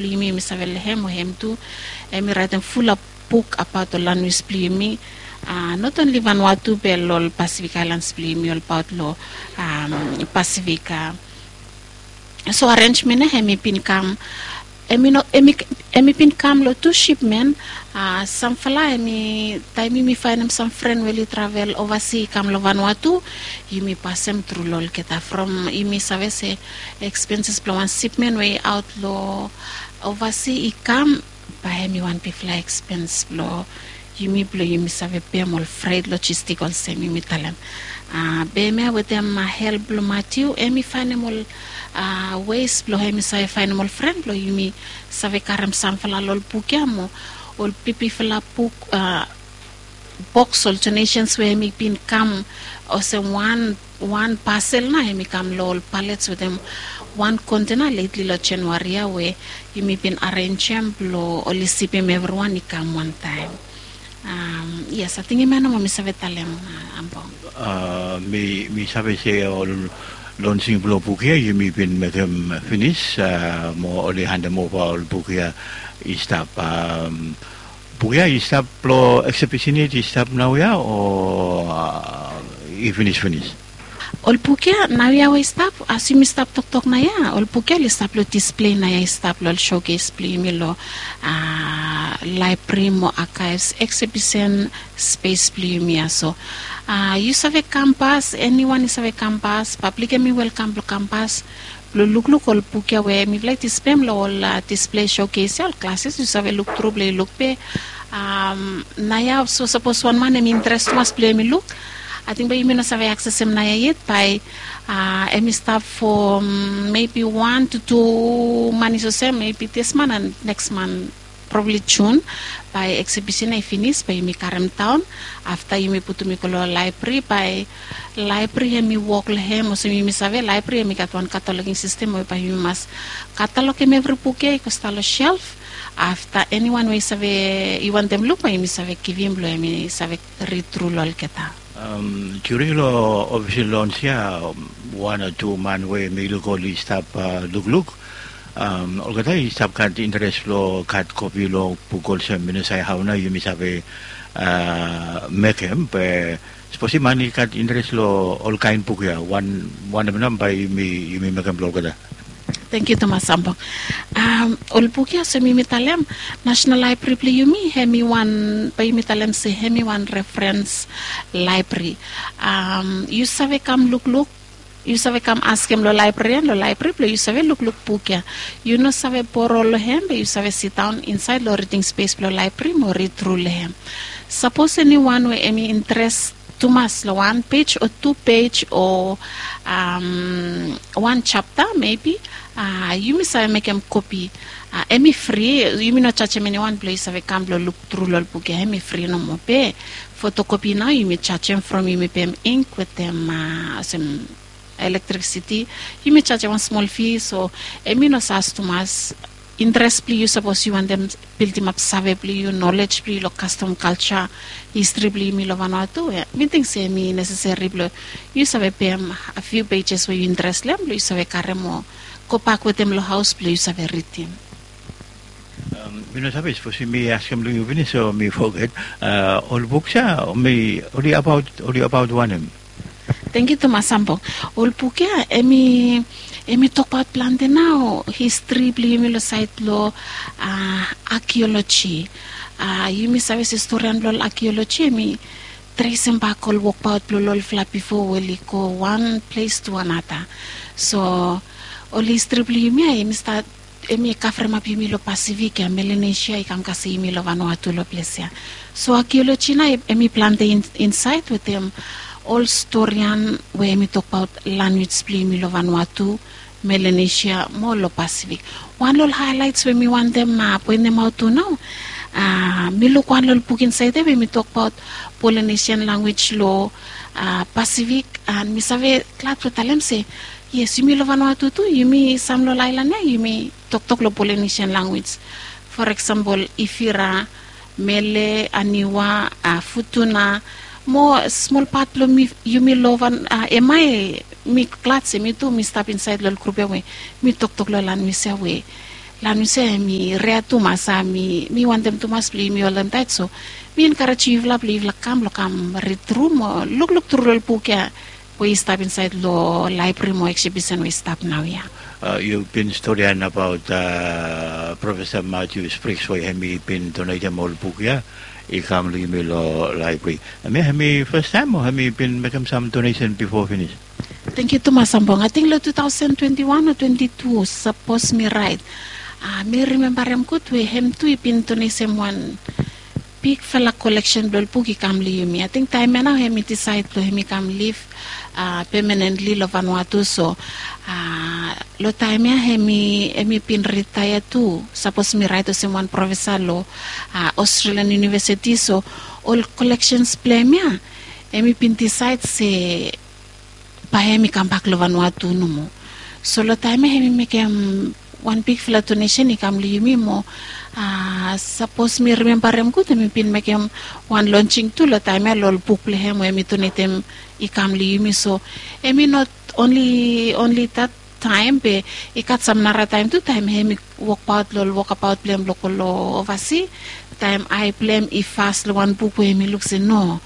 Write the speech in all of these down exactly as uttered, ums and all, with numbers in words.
Blong yumi mi save long hem o hem tu, em i raitim fula buk abaot ol lanwis blong yumi. Not onli vanua tu be long ol pasifik ailans blong yumi olbaot long pasifik. So arenjmen ya em i bin kam em i bin kam long tu sipmen. Samfala em i taim yumi fainim sam fren we oli travel ovasi i kam long vanua tu, yumi pasem tru long olgeta from yumi save se ekspenses blong wan sipmen we i aot long ovasi i kam, bae em i wan bifala ekspens blong yumi blong yumi save pem ol fret lojistik olsem yumi talem. Be em ya wetem help blong matiu em i fainim ol wes blong em i save fainim ol fren blong yumi save karim samfala long ol buk ya mo ol bibifala buk, boks ol donesens we em i bin kam olsem wan wan pasel na em i kam long ol palets wetem wan kontena letli long januari ya we yumi bin arenjem blong oli sipim evriwan i kam wantaim. Yes, ating em ya nomo mi save talem. Ambong. Mi save se ol lonsing blong buk ya yumi bin mekem finis, mo oli handem ova ol buk ya i stap. Buk ya i stap long eksebisin ya i stap naoia o i finis finis? Ol buk ya naoia we i stap, as yumi stap toktok naoia ol buk ya oli stap long displei naoia i stap long ol showkes blong yumi long laebri mo akaevs eksebisen spes blong yumi ya so. Yu save kampas, eniwan i save kampas, pablik em i welkam blong kampas blong lukluk ol buk ya we mifala i dispem long ol displei showkes ya ol klases yu save luktru blong yu luk be. Naoia so sapos wan man em i interes tumas blong em i luk, ating bae yumi no save aksesem naoia yet bae em i stap fo mebi wan tu tu manis olsem mebi dis man an neks man, probabli jun, bae eksebisen ya i finis bae yumi karim daon. Afta yumi putum i go long laebri bae laebri em i wok long hem olsem yumi save laebri em i gat wan kataloking sistem we bae yumi mas katalokim evri buk ya i go stap long self. Afta eniwan we i save i wantem luk bae yumi save givim blong em i save rid tru long olgeta. During long ofisel lons ya wan o tu man we mi luk oli stap lukluk olgeta i stap gat interes long gat kopi long buk olsem mi no save hau nao yumi save mekem be sapos i man i gat interes long olkaen buk ya wanem nao bae yumi mekem blong olgeta? Tengkiu tumas ambok. Ol buk ya olsem yumi talem, nasenal laebri blong yumi hem i wan bae yumi talem se hem i wan referens laebri. Yu save kam lukluk, yu save kam askem long laebrarian long laebri blong yu save lukluk buk ya. Yu no save boro long hem be yu save sidaon insaed long riding spes blong laebri mo rid tru long hem. Sapos eniwan we em i interes tumas long wan pej o tu pej o wan japta mebi, yumi save mekem kopi. Em i fri, yumi no jajem eniwan blong yu save kam blong luktru long ol buk ya em i fri nomo be fotokopi nao yumi jajem from yumi pem ink wetem olsem elektrisiti. Yumi jajem wan smol fi so em i no sas tumas. Interes blong yu sapos yu wantem bildimap save blong yu nolej blong yu long kastom kalja histri blong yumi long vanua tu, mi ting se em i neseseri blong yu save pem a fiu pejes we yu interes long em blong yu save karim o gobak wetem long haos blong yu save ridim. Mi no save sapos mi askem long yu finis o mi foget, ol buks ya oli abaot wanem? Tengkiu tumas ambok. Ol buk ya em i tokbaot plante nao histri blong yumi long saed blong akioloji. Yumi save se storian blong ol akioloji em i tresim bak ol wokbaot blong ol olfala bifo we oli go wan ples tu anata. So ol histri blong yumi ya em i stat em i kavremap yumi long pasifik ya melenesia i kam kasem yumi long vanua tu long ples ya. So akioloji nao em i plante insaed wetem ol storian we em i tokbaot lanwis blong yumi long vanua tu, melenesia mo long pasifik. Wan long ol haelaets we mi wantem poentemaot tu nao, mi luk wan long ol buk insaed ya we em i tokbaot polenesian lanwis long pasifik. An mi save glad blong talem se yes yumi long vanua tu tu yumi sam long ol aelan ya yumi toktok long polenesian lanwis. For eksempel ifira, mele, aniwa, futuna, mo smol pat blong yumi long van ema e mi glad se mi tu mi stap insaed long ol grup ya we mi toktok long lanwis ya we Lanem se mi rea tumas a mi wantem tumas blong yumi holdem taet so mi enkarejem yufala blong yufala kam blong kam rid tru mo lukluk tru long ol buk ya we i stap insaed long laebri mo eksibisen we i stap naoia. Yu bin storian abaot profesa matius briks we hem i bin donetem ol buk ya i kam long yumi long laebri. Hem ya hem i fastaem o hem i bin mekem sam donesen bifo finis? Tengkiu tumas ambong ating long tu taosen twenti wan o twenti tu sapos mi raet. Mi rimembarem gud we hem tu i bin donesem wan bigfala koleksen blong ol buk i kam long yumi ating taem ya nao hem i disaed blong hem i kam liv pemanentli long vanua tu so long taem ya hem i bin ritaea tu sapos mi raet olsem wan profesa long australian univesiti so ol koleksens blong hem ya hem i bin disaed se bae hem i kambak long vanua tu nomo. So long taem ya hem i mekem wan bigfala donesen i kam long yumi mo sapos mi rimembarem gud hem i bin mekem wan lonsing tu long taem ya long ol buk blong hem we hem i donetem i kam long yumi so hem i not onli onli dat taem be i gat sam nara taem tu taem hem i wokbaot long ol wokabaot blong hem blong go long ovasi taem ae blong hem i fas long wan buk we hem i luk se no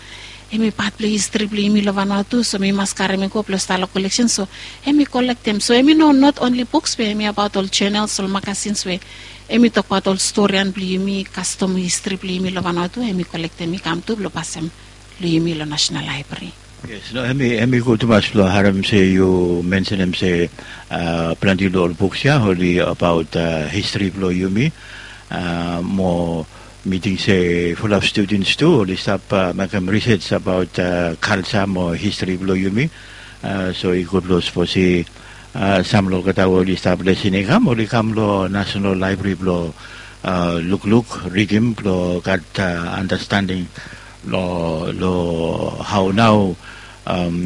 hem i pat blong histri blong yumi long vanua tu so mi mas karem i go blong stap long koleksen so hem i kolektem so hem i no not onli buks be hem i abaot ol jenels ol makasins we hem i tokbaot ol storian blong yumi kastom histri blong yumi long vanua tu hem i kolektem i kam tu blong pasem long yumi long nasenal laebri. Yes no hem i gud tumas blong harem se yu mensenem se plante long ol buks ya oli abaot histri blong yumi mo mi ting se fulap studens tu oli stap mekem risej abaot kalsa mo histri blong yumi. So i gud long sapos i sam long olgeta we oli stap lesin i kam oli kam long nasenal laebri blong lukluk ridim blong gat andastanding long hao nao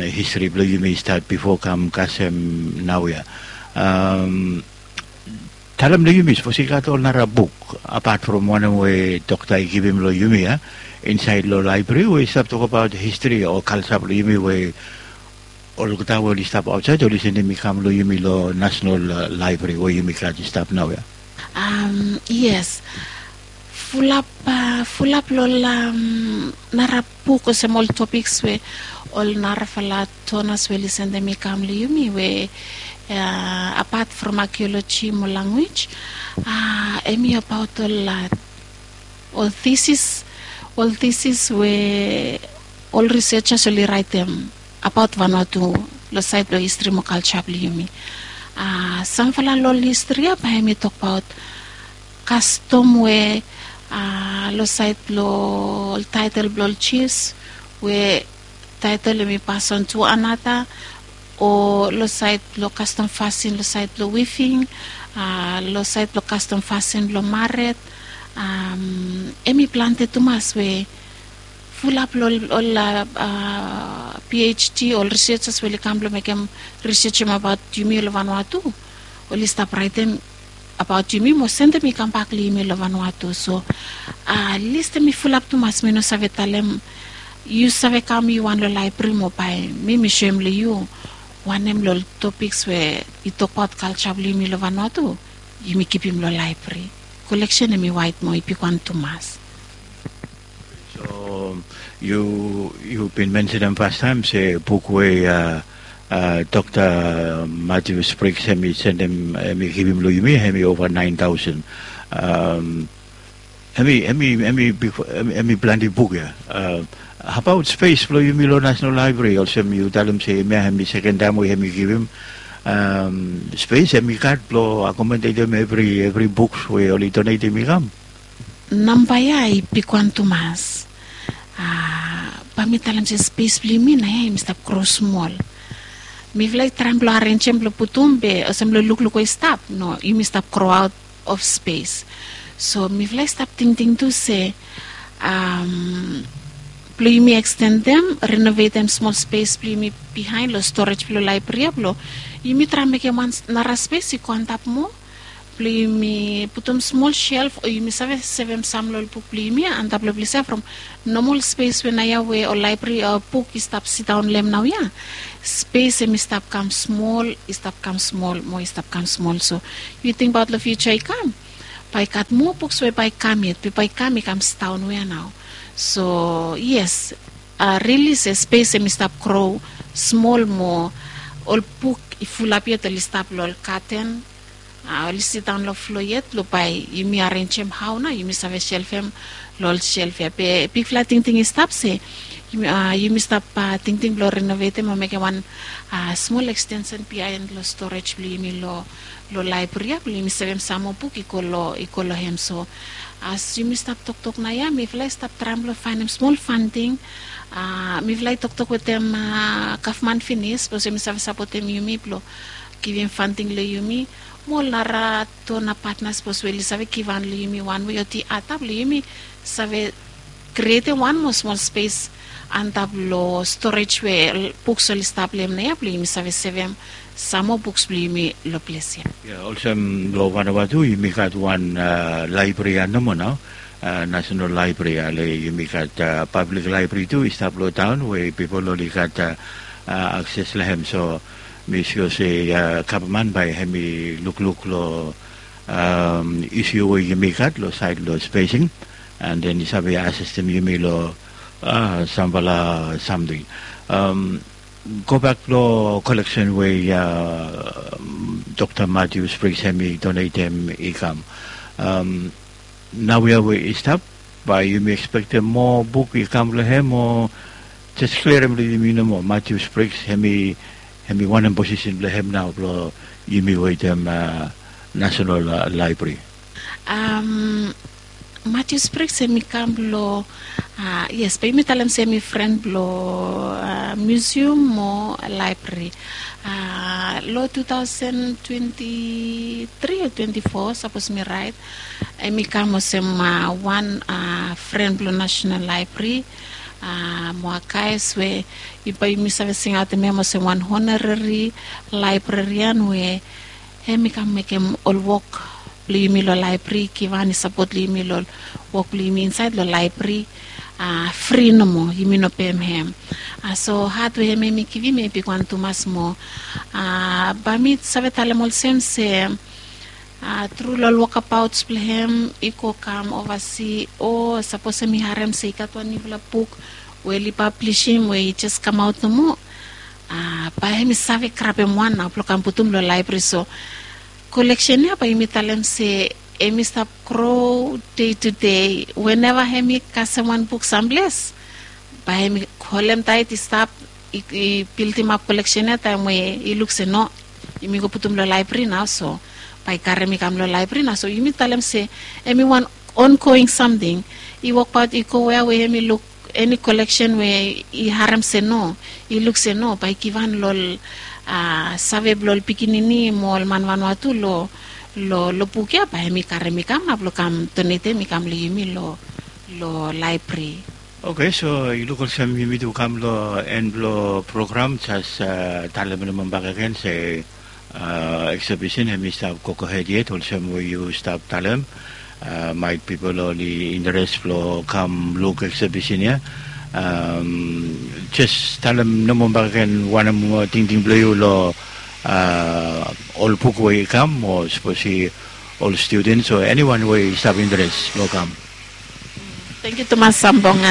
histri blong yumi i stat bifo kam kasem naoia. Talem long yumi sapos i gat ol nara buk apat from wanem we dokta i givim long yumi ya insaed long laebri we i stap tokabaot histri o kalsa blong yumi we olgeta we oli stap aotsaed oli sendem i kam long yumi long nasenal laebri we yumi gat i stap naoia. Yes. Fulap fulap long ol nara buk olsem ol topiks we ol narafala tonas we oli sendem i kam long yumi we apat from akioloji mo languej hem i abaot ol ol tisis ol tisis we ol risejas oli raetem abaot vanua tu long saed blong histri mo kalsa blong yumi. Samfala long ol histri ya bae hem i tokbaot kastom we long saed blong ol taetel blong ol jifs we taetel hem i pason tu anata o long saed blong kastom fasin long saed blong wiving long saed blong kastom fasin blong maret. Hem i plante tumas we fulap long ol phd ol risejas we oli kam blong mekem risejem abaot yumi long vanua tu oli stap raetem abaot yumi mo sendem i kambak long yumi long vanua tu so lis hem i fulap tumas mi no save talem yu save kam yu wan long laebri mo bae mi mi soem long yu wanem long ol topiks we i tokbaot kalsa blong yumi long vanua tu yumi kipim long laebri. Koleksen hem i waet mo i bigwan tumas. So yu yu bin mensenem fastaem se buk we dokta matius briks hem i sendem hem i givim long yumi hem i ova naen taosen. Hem i hem i hem i bik hem i plante buk ya. Abaot spes blong yumi long nasenal laebri olsem yu talem se hem ya hem i seken taem we hem i givim spes hem i gat blong akomodetem evri evri buks we oli donetem i kam. Namba ya i bigwan tumas. Bae mi talem se spes blong yumi nao ya yumi stap gro smol. Mifala i traem blong arenjem blong putum be olsem long lukluk we i stap no yumi stap gro aot of spes. So mifala i stap tingting tu se blong yumi ekstendem renovetem smol spes blong yumi bihaen long storej blong laebri ya blong yumi traem mekem wan nara spes i go antap moa. Blong yumi putum smol shelf o yumi save sevem sam long ol buk blong yumi antap long ples ya from nomol spes we naoia we ol laebri o buk i stap sidaon long hem naoia. Spes hem i stap kam smol, i stap kam smol mo i stap kam smol. So yu tingbaot long fiuja i kam, bae i gat moa buks we bae i kam yet, be bae i kam i kam sidaon we ya nao. So yes, rili se spes hem i stap gro smol mo ol buk i fulap yet oli stap long ol gaten. Oli sidaon long flo yet blong bae yumi arenjem hao nao yumi save selfem long ol self ya. Be bigfala tingting i stap se yumi stap tingting blong renovetem o mekem wan smol ekstensen biaen long storej blong yumi long laebri ya blong yumi sevem sam moa buk i go long hem. So as yumi stap toktok naoia mifala i stap traem blong faenem smol fanting. Mifala i toktok wetem gavman finis sapos yumi save sapotem yumi blong givim fanting long yumi mo ol nara dona patna sapos we oli save givhan long yumi wan we o di ata blong yumi save krietem wan moa smol spes antap long storej we buks oli stap long hem naoia blong yumi save sevem sam moa buks blong yumi long ples ya. Olsem long vanava tu yumi gat wan laebri ya nomo nao, nasenal laebri ya le yumi gat pablik laebri tu i stap long taon we pipol oli gat akses long hem. So mi sua se gavman bae hem i lukluk long isiu we yumi gat long saed long spesing an den i save asistem yumi long samfala samting. Gobak long koleksen we dokta matiu spriks hem i donetem i kam naoia we i stap, bae yumi ekspektem moa buk i kam long hem o jes klirim long yumi nomo matiu spriks hem i wanem posisen blong hem nao blong yumi wetem nasenal laebri? Matiu spriks hem i kam blong yes bae yumi talem se hem i fren blong miusium mo laebri. Long tu taosen twenti tri o twenti fo sapos mi raet hem i kam olsem wan fren blong nasenal laebri. Mo akaes we bae yumi save singaotem hem olsem wan honorari laebrarian we hem i kam mekem ol wok blong yumi long laebri givhan i sapot long yumi long wok blong yumi insaed long laebri. Fri nomo yumi no pem hem. So hat we hem hem i givim hem i bigwan tumas mo bae mi save talem olsem se tru long ol wokabaots blong hem i go kam ovasi o sapos hem i harem se i gat wan niufala buk we oli pablisim we i jes kamaot nomo bae hem i save grabem wan nao blong kam putum long laebri. So koleksen ya bae yumi talem se hem i stap gro dei tu dei weneva hem i kasem wan buk samples bae hem i holem taet i stap i bildimap koleksen ya taem we i luk se no yumi go putum long laebri nao so bae i karem i kam long laebri nao so yumi talem se hem i wan ongoing samting i wokbaot i go wea we hem i luk eni koleksen we i harem se no i luk se no bae i givhan long ol save blong ol pikinini mo ol man vanua tu long long buk ya bae hem i karem i kam nao blong kam donetem i kam long yumi long laebri. Oke so i luk olsem yumi tu kam long en blong program jes talem nomo bakegen se eksebisin hem i stap gogohed yet olsem we yu stap talem. Maet pipol oli interes blong kam luk eksebisin ya. Jes talem nomo bakegen wanem tingting blong yu long ol buk we i kam o sapos i ol studens o eniwan we i stap interes blong kam. Tengkiu tumas sambong.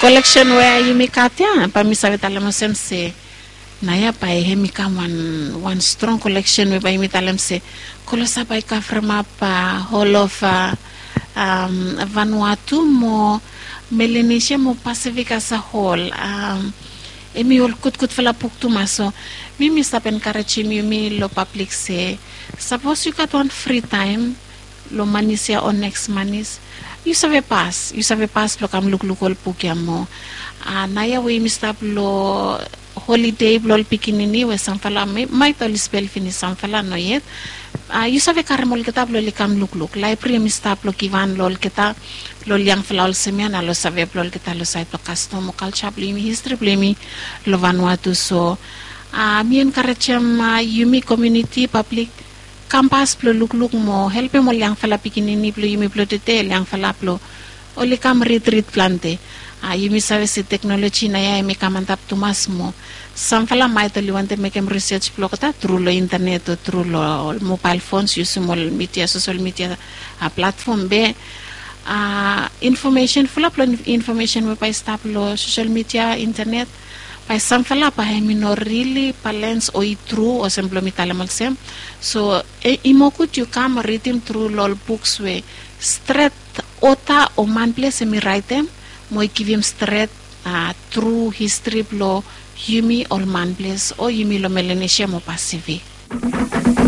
Koleksen we yumi gat ya bae mi save talem olsem se naoia bae hem i kam wan strong koleksen we bae yumi talem se kolosa bae i kavremap hol of vanua tu mo melenesia mo pasifik as a hol. Hem i ol gudgudfala buk tumas so mi mi stap enkarejem yumi long pablik se sapos yu gat wan fri taem long manis ya o neks manis yu save pas yu save pas blong kam lukluk ol buk ya moa. Naoia we yumi stap long holide blong ol pikinini we samfala maet oli spel finis samfala no yet. Yu save karem olgeta blong oli kam lukluk laebri hem i stap long givan long olgeta long ol yangfala olsem ya na long save blong olgeta long saed blong kastom o kalja blong yumi histri blong yumi long vanua tu so mi enkarejem yumi komiuniti pablik Kampas blong lukluk mo helpem ol yangfala pikinini blong yumi blong tede, ol yangfala blong oli kam ridrid plante. A yumi save se teknoloji nao ya em i kam antap tumas mo samfala maet oli wantem mekem risej blong olgeta tru long intenet o tru long ol mobael fons, yusim ol midia, sosel midia platfom be a infomesen, fulap long infomesen we bae i stap long sosel midia, intenet, bae samfala bae em i no rili balens o i tru olsem blong mi talem olsem. So i mo gud yu kam ridim tru long ol buks we stret ota o manples em i raetem mo i givim stret a tru histri blong yumi ol manples o yumi long Melanesia mo Pasifik.